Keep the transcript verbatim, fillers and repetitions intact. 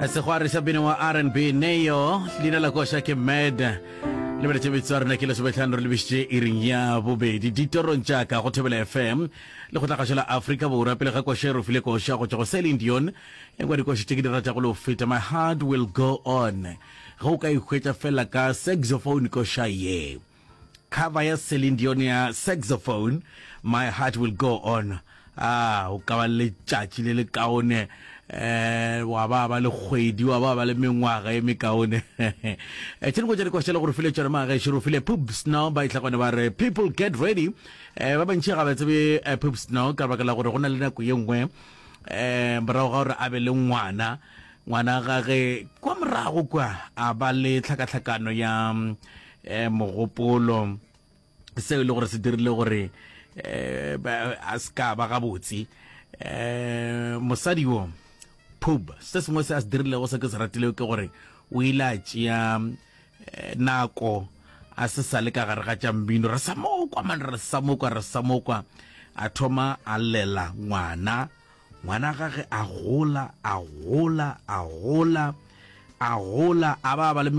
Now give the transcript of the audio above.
Segwari sa bino wa R and B Neo, leina la koša ke Mad. Lebeletše metsotso ya rena ke lesometlhano re lebišitše iring ya bobedi ditorong tša ka go Thobela F M le go tlagašo la Afrika Borwa. Pele ga koša e re file koša go tšwa go Celine Dion, e ngwe dikoša tše ke di ratago le go feta, My Heart Will Go On. Ge o ka ihwetša fela ka saxophone koša ye, cover ya Celine Dion ya saxophone, My Heart Will Go On, a o ka ba le letšatši le le kaone, eh wa ba ba le kgwedi, wa ba ba le mengwaga e mekaone. Eh, tše dingwe tša dikoša le gore file tšona magešo, re file Pooh Snow, ba itla gone ba re "People Get Ready". eh ba bantši ga ba tsebe eh, Pooh Snow ka baka la gore go na le nako ye nngwe eh morago ga gore a be le ngwana, ngwana gage kwa morago kwa, a ba le tlhakatlhakano ya eh mogopolo, seo e le gore se dirile gore eh a se ka ba gabotse. eh mosadi wo Pub, se sengwe se a se dirilego se ke se ratilego ke gore o ile a tšea eh, nako a se sa le ka gare ga tša mmino, re sa mokwa man, re sa mokwa, re sa mokwa. A thoma a lela ngwana, ngwana gage a gola, a gola, a gola, a gola, a ba ba le